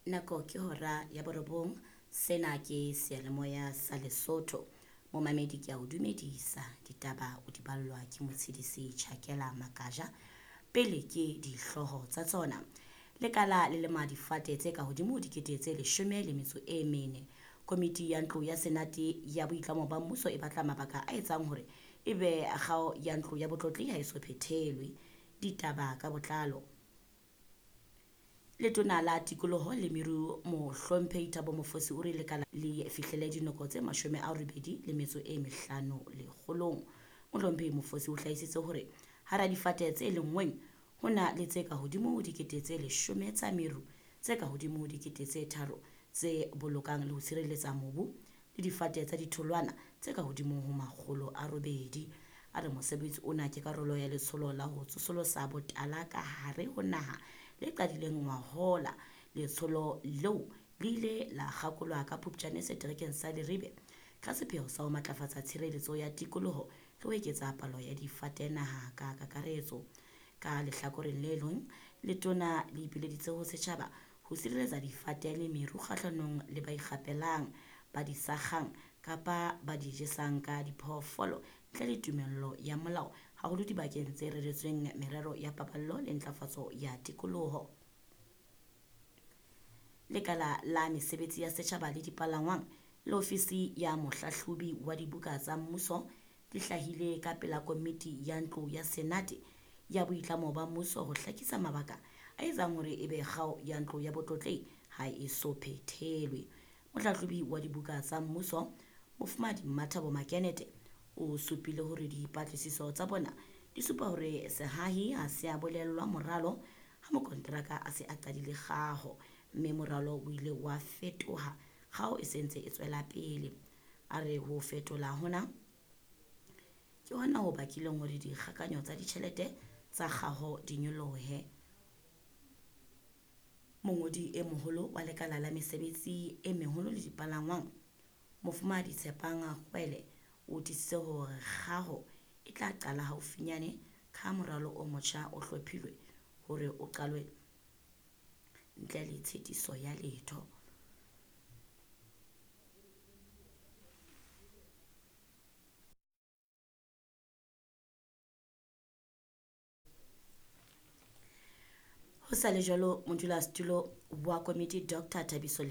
Nako ke hora ya borobong. Sena ke seyalemoya sa Lesotho. Momamedi ke a o dumedisa. Ditaba o di ballwa ke Motshedisi Chakela Makaja. Pele ke dihlooho tsa tsona. Lekala le lema difate tse ka hodimo ho 14,000. Komiti ya ntlo ya Senate ya boitlamo ba mmuso e batla mabaka a etsang hore ebe kgao ya ntlo ya botlotlehi ha e so phethelwe. Ditaba ka botlalo. Letona la tikoloho le meru Mohlomphehi Thabo Mofosi o re lekala le fihlele dinoko tse 85 lekgolong. Mohlomphehi Mofosi o hlahisitse hore hara difate tse lenngweng ho na le tse ka hodimo ho 10,000 tsa meru, tse ka hodimo ho 3,000 tse bolokang le ho tshireletsa mobu le difate tsa ditholwana tse ka hodimo ho 800. A re mosebetsi ona ke karolo ya letsholo la ho tsosolosa botala ka hare ho naha le qadileng ngwahola. Letsholo leo le ile la kgakolwa ka Phupjane seterekeng sa Leribe ka sepheo sa ho matlafatsa tshireletso ya tikoloho le ho eketsa palo ya difate naha ka kakaretso. Ka lehlakoreng le leng, letona le ipileditse ho setjhaba ho sireletsa difate le meru kgahlanong le ba ikgapelang, ba di sakgang kapa ba di jesang ka diphoofolo ntle le tumello ya molao, haholo dibakeng tse reretsweng merero ya paballo le ntlafatso ya tikoloho. Lekala la mesebetsi ya setjhaba le dipalangwang le ofisi ya mohlahlobi wa dibuka tsa mmuso di hlahile ka pela komiti ya ntlo ya Senate ya boitlamo ba mmuso ho hlakisa mabaka a etsang hore ebe kgao ya ntlo ya botlotlehi ha e so phethelwe. Mohlahlobi wa dibuka tsa mmuso, Mofumahadi Mmathabo Makenete, o supile hore dipatlisiso tsa bona di supa hore sehahi ha se a bolellwa moralo ha mokonteraka a se a qadile kgaho, mme moralo o ile wa fetoha kgaho e se ntse e tswela pele. A re ho fetola hona ke hona ho bakileng hore dikgakanyo tsa ditjhelete tsa kgaho di nyolohe. Mongodi e moholo wa lekala la mesebetsi e meholo le dipalangwang, Mofumahadi Tshepang Kgwele, o tiisitse hore kgaho e tla qala haufinyane ka ha moralo o motjha o hlophilwe hore o qalwe ntle le tshitiso ya letho. Ho sa le jwalo, modulasetulo wa komiti Dr Thabiso